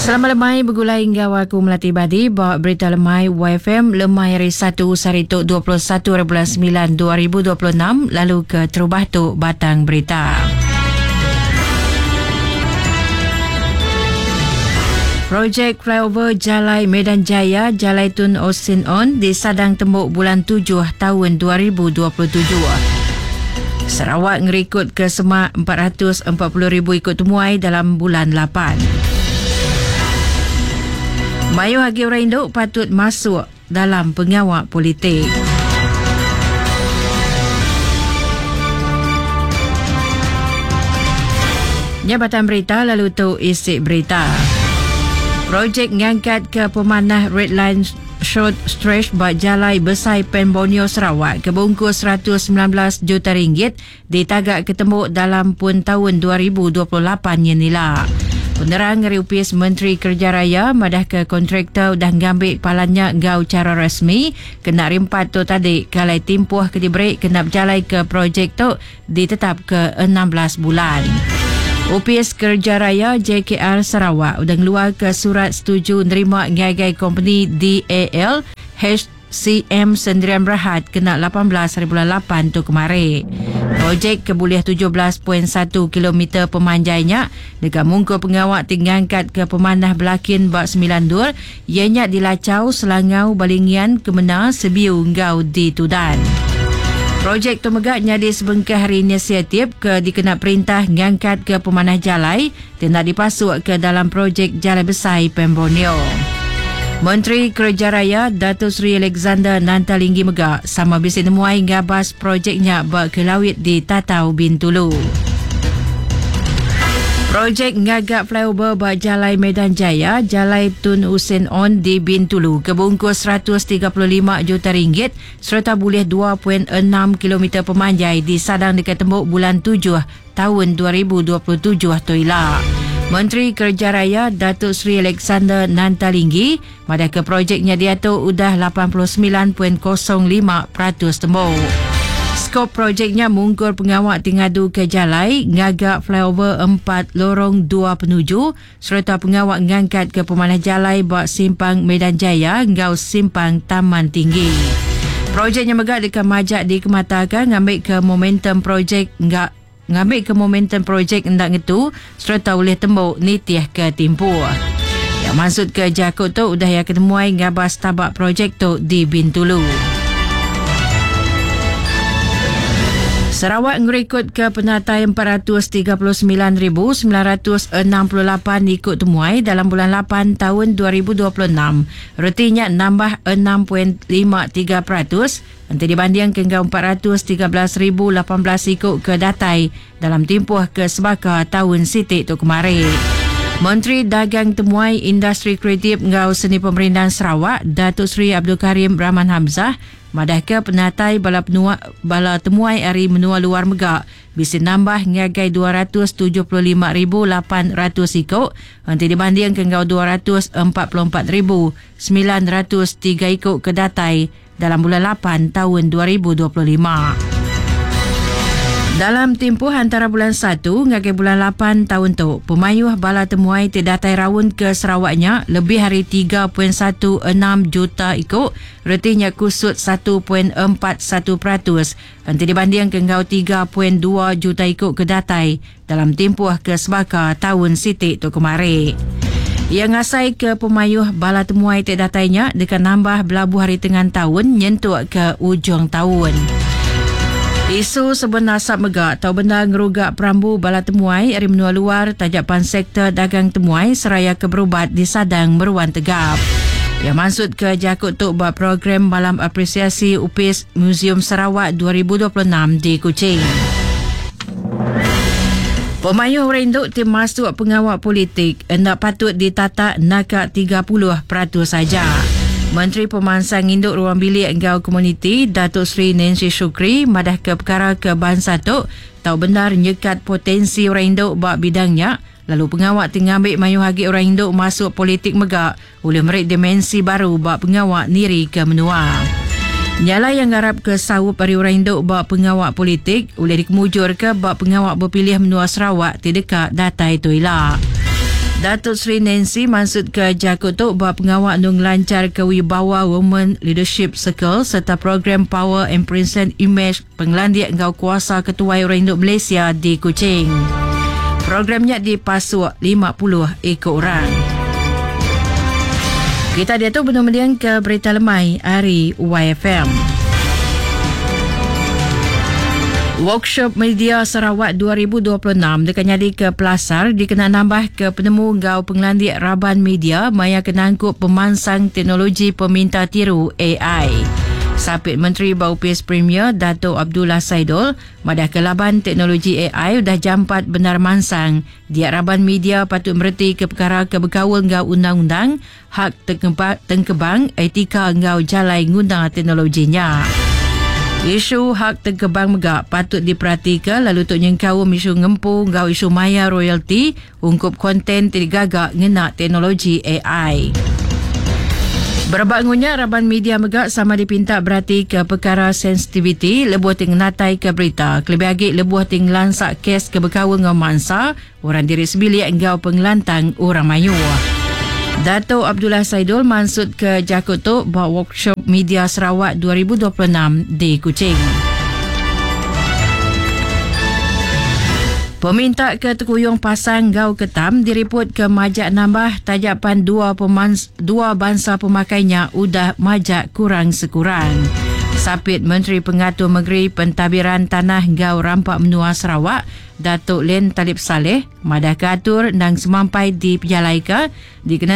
Selamat lemai begulai enggau aku Melati Badi ba Berita Lemai YFM lemai hari Satu sehari tu 21 hari bulan 9 2026 lalu ke terubah tu batang berita. Projek flyover Jalai Medan Jaya, Jalai Tun Osin On disadang tembu bulan 7 tahun 2027. Sarawak ngerikod ke semak 440,000 ikut temuai dalam bulan 8. Mayuh agi orang indu patut masuk dalam pengawa politik. Nya batang berita lalu tu isi berita. Projek ngangkat ke pemanah Red Line Short Stretch ba Jalai Besai Pan Borneo Sarawak ke bungkus 119 juta ringgit Ditaga ke tembu dalam pun taun 2028 nyin ila. Penerang ari Opis Menteri Kereja Raya madahka kontraktor udah ngambi palan nya enggau chara resmi kena hari Empat tu tadi ke alai timpuh ke diberi kena bejalaika projek tu ditetapka 16 bulan. Opis Kereja Raya JKR Sarawak udah ngeluarka surat setuju nerima ngagai kompeni DAL H CM Sendirian Berhad kena 18 hari bulan 8 tu kemari. Projek ke bulih 17.1 kilometer pemanjai nya deka mungkur pengawa ti ngangkatka pemanah belakin ba semilan endur iya nya di Lachau, Selangau, Balingian, Kemena, Sebiu enggau di Tudan. Projek tu mega nyadi sebengkah ari inisiatif ke dikena perintah ngangkatka pemanah jalai ti enda dipasukka dalam projek Jalai Besai Pan Borneo. Menteri Kereja Raya Dato Sri Alexander Nanta Linggi mega sama bisi nemuai ngabas projek nya ba Kelawit di Tatau Bintulu. Projek ngaga flyover ba Jalai Medan Jaya, Jalai Tun Hussein Onn di Bintulu ke bungkus 135 juta ringgit sereta bulih 2.6 kilometer pemanjai disadang deka tembu bulan tujuh taun 2027 tu ila. Menteri Kereja Raya Datuk Seri Alexander Nanta Linggi madahka projek nya diatu udah 89.05% tembu. Skop projek nya mungkur pengawa ti ngaduka jalai, ngaga flyover empat lorong dua penuju sereta pengawa ngangkatka pemanah jalai ba Simpang Medan Jaya enggau Simpang Taman Tinggi. Projek nya mega deka majak dikemataka ngambika momentum projek enggau ngambika momentum projek enda ngetu sereta ulih tembu nitihka timpuh. Iya mansutka jaku tu udah iya ke nemuai ngabas taba projek tu di Bintulu. Sarawak ngerikodka penatai 439,968 iku temuai dalam bulan lapan taun 2026, reti nya nambah 6.53% enti dibandingka enggau 413,018 iku ke datai dalam timpuh ke sebaka taun siti tu kemari. Menteri Dagang Temuai, Industri Kreatif enggau Seni Pemerindang Sarawak, Datuk Seri Abdul Karim Rahman Hamzah madahka penatai bala penua bala temuai ari menua luar mega bisi nambah ngagai 275,800 iku enti dibandingka enggau 244,903 iku ke datai dalam bulan lapan taun 2025. Dalam timpuh antara bulan satu ngagai bulan lapan taun tu, pemayuh bala temuai ti datai raun ke Sarawak nya lebih ari 3.16 juta iku, reti nya kusut 1.41% enti dibandingka enggau 3.2 juta iku ke datai dalam timpuh ke sebaka taun siti tu kemari. Iya ngasaika pemayuh bala temuai ti datai nya deka nambah belabuh ari tengan taun nyentuk ke ujung taun. Isu sebun asap mega tau bendar ngeruga perambu bala temuai ari menua luar taja pan sektor dagang temuai seraya ke berubat disadang meruan tegap. Iya mansutka jaku tu ba program Malam Apresiasi Opis Muzium Sarawak 2026 di Kuching. Pemayuh orang indu ti masuk pengawa politik enda patut ditatak naka 30% aja. Menteri Pemansang Indu Ruang Bilik enggau Komuniti Datuk Seri Nancy Shukri madahka pekara ke bansa tu tau bendar nyekat potensi orang indu ba bidang nya lalu pengawa ti ngambi mayuh agi orang indu masuk politik mega ulih meri dimensi baru ba pengawa nirika menua. Nya alai iya ngarapka saup ari orang indu ba pengawa politik ulih dikemujurka ba pengawa bepilih menua Sarawak ti deka datai tu ila. Datuk Seri Nancy maksud ke jaku tu ba pengawak nung lancar ke Wibawa Women Leadership Circle serta program Power and Present Image Pengelandik Ngau Kuasa Ketua Orang Induk Malaysia di Kuching. Programnya dipasuk 50 ekor orang. Kita dia tu benar ke berita lemai hari YFM. Workshop Media Sarawak 2026 dekat nyadi ke pelasar dikena nambah ke penemu ngau pengelandik raban media maya kenangkup pemansang teknologi peminta tiru AI. Sapit Menteri Baupis Premier Dato' Abdullah Saidol madah kelaban teknologi AI udah jampat benar mansang. Dia raban media patut mereti ke perkara kebekaul ngau undang-undang hak tengkebang etika ngau jalai nguna teknologinya. Isu hak tengkebang megak patut diperhatikan lalu untuk nyengkau isu ngempu ngau isu maya royalti ungkup konten tergagak ngena teknologi AI. Berebak ngunya raban media megak sama dipinta berarti ke perkara sensitiviti lebuh ting natai ke berita. Kelebih lagi lebuh ting lansak kes ke berkaul ngau mangsa, orang diri sebilik ngau pengelantang orang mayu. Dato' Abdullah Saidol maksud ke Jakut tu buat workshop media Sarawak 2026 di Kuching. Peminta ke Tekuyung Pasang Gau Ketam diriput ke majak nambah tajapan dua bangsa pemakainya udah majak kurang sekurang. Sapit Menteri Pengatur Negeri Pentadbiran Tanah Gau Rampak Menua Sarawak, Datuk Len Talib Saleh, madah keatur nang semampai di Pejalaika dikena.